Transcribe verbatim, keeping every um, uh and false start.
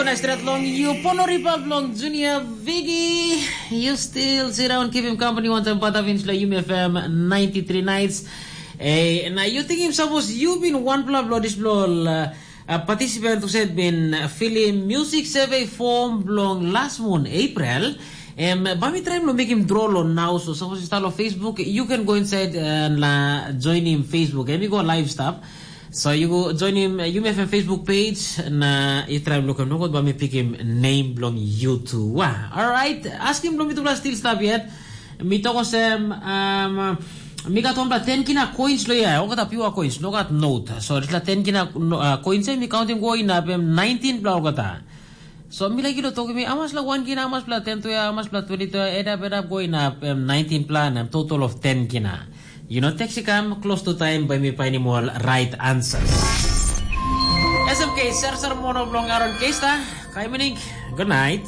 Nice stret long you, Pono Ripa long Junior Vigi. You still sit down, keep him company one time, Pata Vince, la Yumi F M ninety-three nights. Eh, na you think him suppose you been one bla bla this bla uh, uh, participant who said been uh, fill in music survey form belong last month, April. Em, ba mi try lo make him draw lo now, so suppose you start on Facebook, you can go inside uh, and uh, join him Facebook. Em, you go live stuff. So you go join him, uh, Yumi F M Facebook page, na you try look him, no good, but me pick him name belong you too. Wow. All right. Ask him belong me to still stop yet. Mi toko sem, um, mi got one ten kina coins lo ya, okata pure coins, no got note. So this la ten kina no, uh, coins, eh, mi counting go in up em nineteen bla okata. So mi like you talk me, how much la one kina, how much la ten to ya, how much la twenty to ya, add up, add up, go in up em nineteen plan, em total of ten kina. You know, text come close to time by me finding all right answers. S M K, Sir Sir Mono belong Aaron Kesta. Kai mining, good night.